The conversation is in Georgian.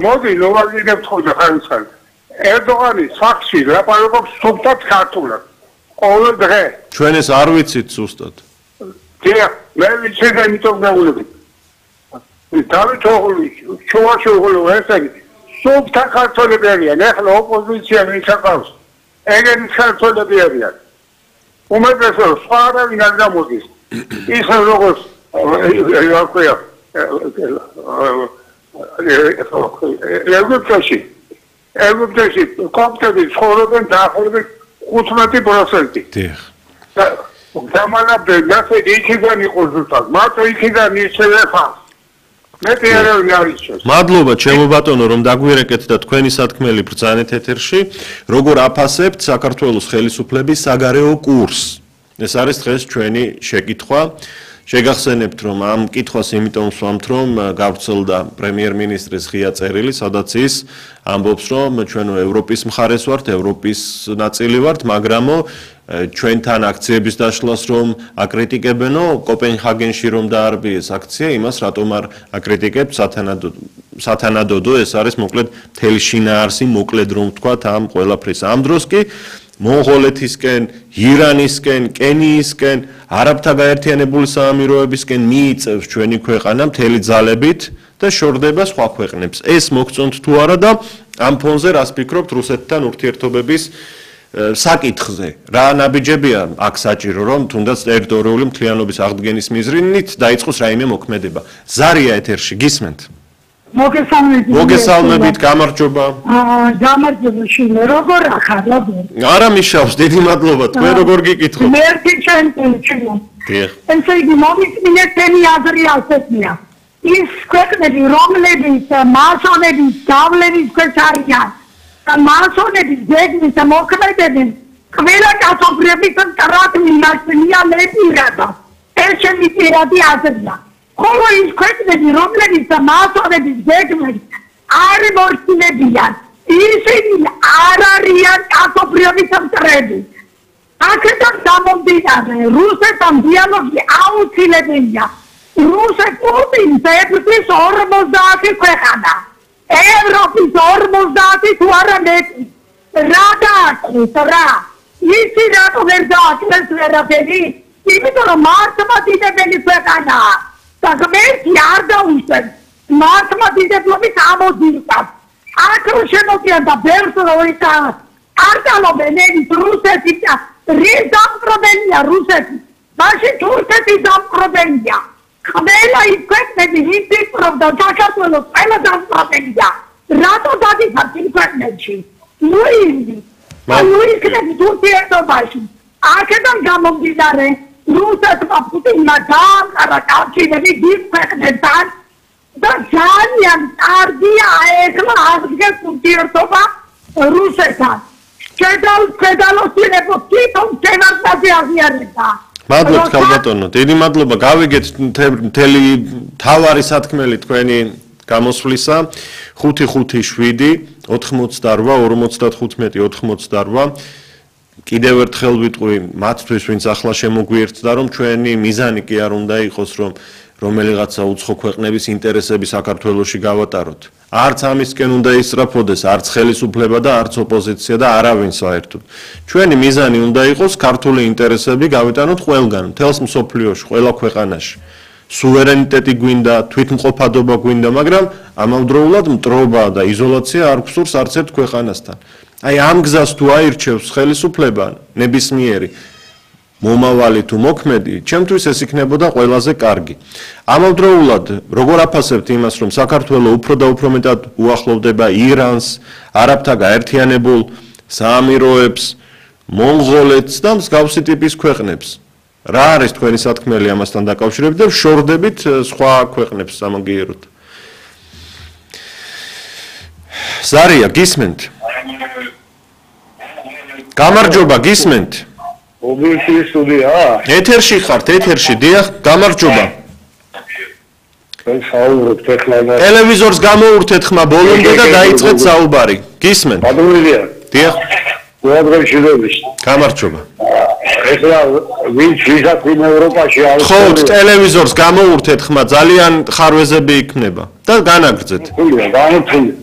მოდი ნოვაგინებს ხოლმე ხარისხან. ერდოღანი სახში ლაპარაკობს სუფთად ქართულად. ყოველ დღე. ჩვენ ეს არ ვიცით ზუსტად. დიახ, მე ვიცი და იმიტომ გავულები. დავით ოღლი, შუაშოღლო ესენი სუფთა ქართველები არიან, ახლა ოპოზიცია მისაკავს. ეგენი ქართველები არიან. უმეტესობა სხვა არავინ არ გამოდის. ის როგორც ეგვიპტეში კოპტები ცხოვრობენ დაახლოებით 15%. დიახ. დამალაბდნენ, ასე იქიდან იყო ზუსტად. მარტო იქიდან ისევე ხარ. მეტი არავინ არ იცის. მადლობა ჩემო ბატონო რომ დაგვირეკეთ და თქვენი სათქმელი ბრძანეთ ეთერში. როგორ აფასებთ საქართველოს ხელისუფლების საგარეო კურსს? ეს არის დღეს ჩვენი შეკითხვა. შეგახსენებთ რომ ამ კითხვას იმიტომ ვსვამთ რომ გავრცელდა პრემიერ-მინისტრის ღია წერილი, სადაც ის ამბობს რომ ჩვენ ევროპის მხარეს ვართ, ევროპის ნაწილი ვართ, მაგრამ ჩვენთან აქციების დაშლას რომ აკრიტიკებენო, კოპენჰაგენში რომ დაარბიეს აქცია, იმას რატომ არ აკრიტიკებთ სათანადოდო, ეს არის მოკლედ მთელი შინაარსი, მოკლედ რომ ვთქვათ ამ ყველაფრის. ამ დროს კი მონღოლეთისკენ, ირანისკენ, კენიისკენ, არაბთა გაერთიანებული საამიროებისკენ მიიწევს ჩვენი ქვეყანა მთელი ძალებით და შორდება სხვა ქვეყნებს. ეს მოგწონთ თუ არა და ამ ფონზე რას ფიქრობთ რუსეთთან ურთიერთობების საკითხზე? რა ნაბიჯებია აქ საჭირო რომ თუნდაც ტერიტორიული მთლიანობის აღდგენის მიზნით დაიწყოს რაიმე მოქმედება? ზარია ეთერში, გისმენთ? მოგესალმებით, გამარჯობა. გამარჯობა შინო, როგორ ახარ, როგორ? არა მიშავს, დიდი მადლობა, თქვენ როგორ გიკითხოთ? მერტი ჩემო. ესე იგი, მომიწმინეთ თემი აზრი ასეთია. ის ქვეყნები, რომლებიც მასონების გავლენის ქვეშ არიან, მასონების გეგმის და მოქმედების ყველა კაცობრიობის მტრად მიმართულია ლეპირადა. ეს ჩემი პირადი აზრია. ხოლო ის ქვეყნები, რომლებიც მასონების გეგმით არ მორჩილებიან, ისინი არ არიან კაცობრიობის მტრები. აქედან გამომდინარე, რუსეთთან დიალოგი აუცილებელია. რუსეთს ებრწის 50 ქვეყანა. ევროპის 50 თუ არა მეტი. რა დააკრეს, რა? ისი რატო ვერ დააკრეს ვერაფერი? იმიტომ რომ მართლმადიდებელი ქვეყანაა. და ღმერთი არ დაუშვებს მართლმადიდებლობის ამოძირკას. აქ რო შემოდიან და ბევრს როიცა არ დალობენ ენის რუსეთი და რის დამპყრობელია რუსეთი, მაშინ თურქეთი დამპყრობელია. ყველა ის ქვეყნები იფიქრობდა საქართველოს ყველა დამპყრობელია. რატო დადიხართ იმ ქვეყნებში? ნუ იქნები ურთიერთობაში. აქედან გამომდინარე რუსეთმა პუტინმა დაამყარა კავშირები დიდ ქვეყნებთან და ძალიან კარგია ეხლა აღდგეს ურთიერთობა რუსეთთან. შედალოსილებო თვითონ შევარდნაძე აღიარებდა. მადლობთ ქალბატონო, დიდი მადლობა. გავიგეთ მთელი თავარი სათქმელი თქვენი გამოსვლისა. 557 88 55 88. კიდევ ერთხელ ვიტყვი მათთვის, ვინც ახლა შემოგვიერთდა, რომ ჩვენი მიზანი კი არ უნდა იყოს, რომ რომელიღაცა უცხო ქვეყნების ინტერესები საქართველოში გავატაროთ. არც ამისკენ უნდა ისწრაფოდეს, არც ხელისუფლება და არც ოპოზიცია და არავინ საერთოდ. ჩვენი მიზანი უნდა იყოს ქართული ინტერესები გავიტანოთ ყველგან, მთელს მსოფლიოში, ყველა ქვეყანაში. სუვერენიტეტი გვინდა, თვითმყოფადობა გვინდა, მაგრამ ამავდროულად მტრობა და იზოლაცია არ გვსურს არც ერთ ქვეყანასთან. აი ამ გზას თუ აირჩევს ხელისუფლება ნებისმიერი მომავალი თუ მოქმედი, ჩემთვის ეს იქნებოდა ყველაზე კარგი. ამავდროულად როგორ აფასებთ იმას, რომ საქართველოს უფრო და უფრო მეტად უახლოვდება ირანს, არაბთა გაერთიანებულ საამიროებს, მონღოლეთს და მსგავსი ტიპის ქვეყნებს? რა არის თქვენი სათქმელი ამასთან დაკავშირებით და შორდებით სხვა ქვეყნებს სამაგიეროდ? ზარია, გისმენთ? გამარჯობა, გისმენთ? ობიექტივი სტუდია? ეთერში ხართ, ეთერში, დიახ, გამარჯობა. საუბრობთ ეხლა. ტელევიზორს გამოურთეთ ხმა ბოლომდე და დაიწყეთ საუბარი. გისმენთ? ადროილია. დიახ. უადრეში დების. გამარჯობა. ეხლა ვინც ვიზაფინ ევროპაში არის ხო, ტელევიზორს გამოურთეთ ხმა, ძალიან ხარვეზები იქნება და განაგრძეთ. განუცულია